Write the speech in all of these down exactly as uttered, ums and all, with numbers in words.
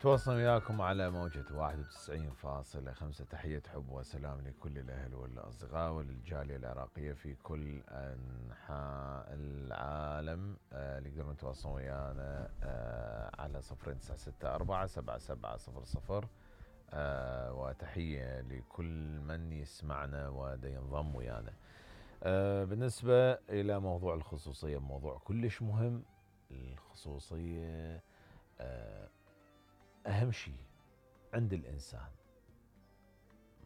تواصل وياكم على موجة واحد وتسعين فاصلة خمسة. تحية حب وسلام لكل الأهل والأصدقاء وللجالية العراقية في كل أنحاء العالم. آه اللي يقدرون يتواصلون ويانا آه على صفرين تسعة ستة أربعة سبعة سبعة صفر صفر. آه وتحية لكل من يسمعنا ودا ينضم ويانا. آه بالنسبة إلى موضوع الخصوصية، موضوع كلش مهم. الخصوصية آه أهم شيء عند الإنسان.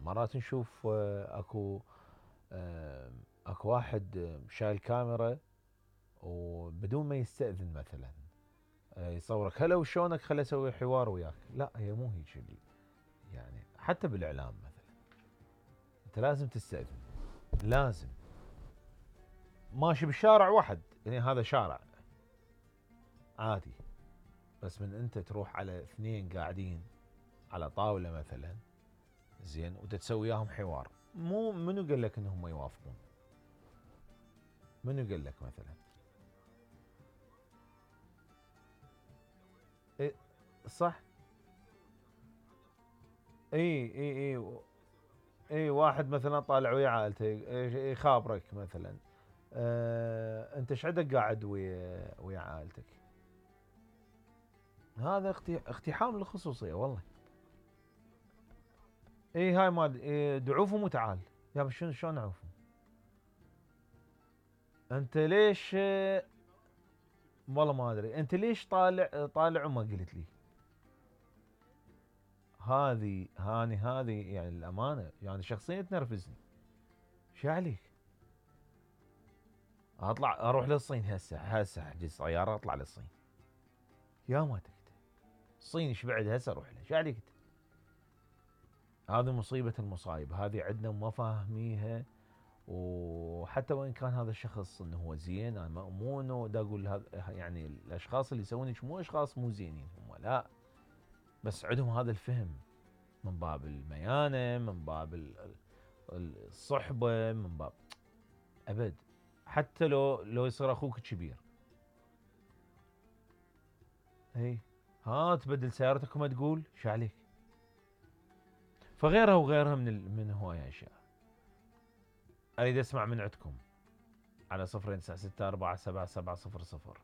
مرات نشوف أكو أكو واحد شايل كاميرا وبدون ما يستأذن مثلا يصورك هلا وشونك خلي أسوي حوار وياك. لا، هي مو هيك اللي يعني. حتى بالإعلام مثلا أنت لازم تستأذن، لازم. ماشي بالشارع واحد، يعني هذا شارع عادي، بس من أنت تروح على اثنين قاعدين على طاولة مثلا زين وتتسوي وياهم حوار، مو منو قال لك انهم يوافقون؟ منو قال لك مثلا؟ إيه صح. اي اي اي اي واحد مثلا طالع ويا عائلته يخابرك مثلا. اه انت ايش عندك قاعد ويا ويا عائلتك؟ هذا اقتحام للخصوصيه والله. اي هاي مال إيه دعوفهم وتعال. يا شنو شلون نعوفهم؟ انت ليش؟ والله ما ادري انت ليش طالع طالع وما قلت لي. هذه هاني هذه يعني الامانه يعني شخصيا تنرفزني. شو عليك؟ اطلع اروح للصين هسه هسه احجز سياره اطلع للصين. يا ما تكت الصين ايش بعد هسه اروح له؟ شو عليك؟ هذه مصيبه المصايب، هذه عندنا ما فاهميها. وحتى وان كان هذا الشخص انه هو زين، انا مو انه دا اقول هذا يعني الاشخاص اللي يسوون مو اشخاص مو زينين هم، لا، بس عندهم هذا الفهم من باب الميانه، من باب الصحبه، من باب ابد. حتى لو لو يصير اخوك كبير، اي ها تبدل سيارتك وما تقول شو عليك؟ فغيرها وغيرها من من هواية اشياء. اريد اسمع من عندكم على صفرين تسعة ستة أربعة سبعة سبعة صفر صفر.